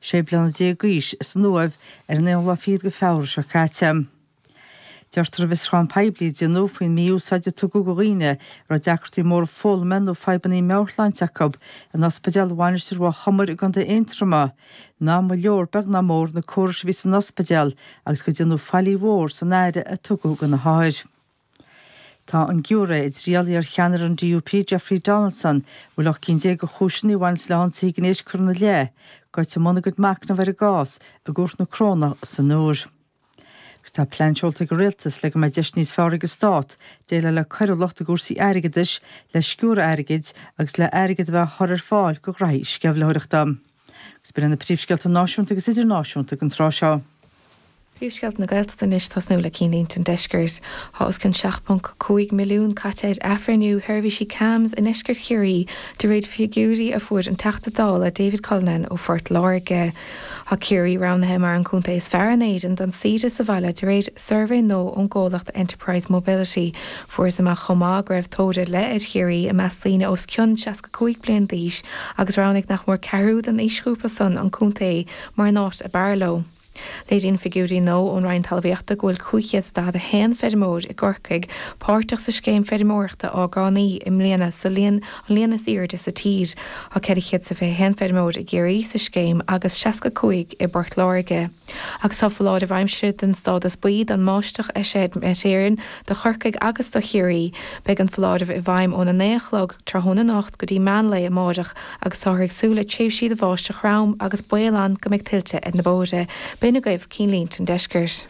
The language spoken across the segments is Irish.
16 bliana d'aois, san Uaimh ar an aonú lá fichead de Feabhra seo caite. Deirtear i bhfiosrúchán poiblí a déanadh faoin mí-úsáid a tugadh do dhaoine a raibh deacrachtaí móra foghlama nó fadhbanna meabhairshláinte acu in ospidéal Mhainistir Mhaigh Chomair i gContae Aontroma ná mba leor beag ná mór na córais a bhí san ospidéal agus gur déanadh faillí mhór san aire a tugadh do na hothair. Tá an giúiré i dtriail iar-cheannaire an DUP Jeffrey Donaldson, a bhfuil 18 cinn de chúiseanna a bhaineas le hionsaithe gnéis curtha ina leith, goite i mbun a gcuid machnaimh ar an gcás i gCúirt na Corónach san Iúr. Agus tá plean seolta ag an Rialtas le go mbeidh deis níos fearr ag an Stát déileáil le coiriúlacht i gcúrsaí airgeadais, le sciúradh airgid agus le airgead a bheith á chur ar fáil do ghraithí sceimhlitheoireachta. Agus b'in iad na príomhscéalta náisiúnta agus idirnáisiúnta don tráth seo. Príomhscéalta na Gaeltachta anois, tosnú le cinnlínte an deiscirt. Tá os cionn 7.5 milliún caite ar athbhreithniú sheirbhísí CAMHS i ndeisceart Chiarraí, de réir figiúirí a fuair an Teachta Dála David Cullinane ó Phort Láirge. Tá Ciarraí roghnaithe mar an contae is fearr in Éirinn don saoire sa bhaile de réir suirbhé nua ón gcomhlacht Enterprise Mobility. Fuarthas amach chomh maith go raibh tóir ar leith ar Chiarraí i measc daoine os cionn 65 bliain d'aois agus roghnaigh nach mór ceathrú den aoisghrúpa san an contae mar an áit ab fhearr leo. Léiríonn figiúirí nua ón Roinn Talmhaíochta go bhfuil 541 feirmeoir i gCorcaigh páirteach sa Scéim Feirmeoireachta Orgánaí i mbliana, sa líon an líon is airde sa tír. Tá 421 feirmeoir i gCiarraí sa scéim agus 65 i bPort Láirge. Agus tá foláireamh aimsire den stádas buí don mbáisteach eisithe ag Met Éireann do Chorcaigh agus do Chiarraí. Beidh an foláireamh i bhfeidhm óna 9 a chlog tráthnóna anocht go dtí meán lae amáireach agus táthar ag súil le tréimhsí de bháisteach throm agus baol ann go mbeidh tuilte ar na bóithre. B'in agaibh cinnlínte an deiscirt.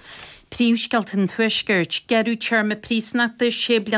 Príomhscéalta an Tuaiscirt, Gearradh téarma príosúnachta 6 bliana.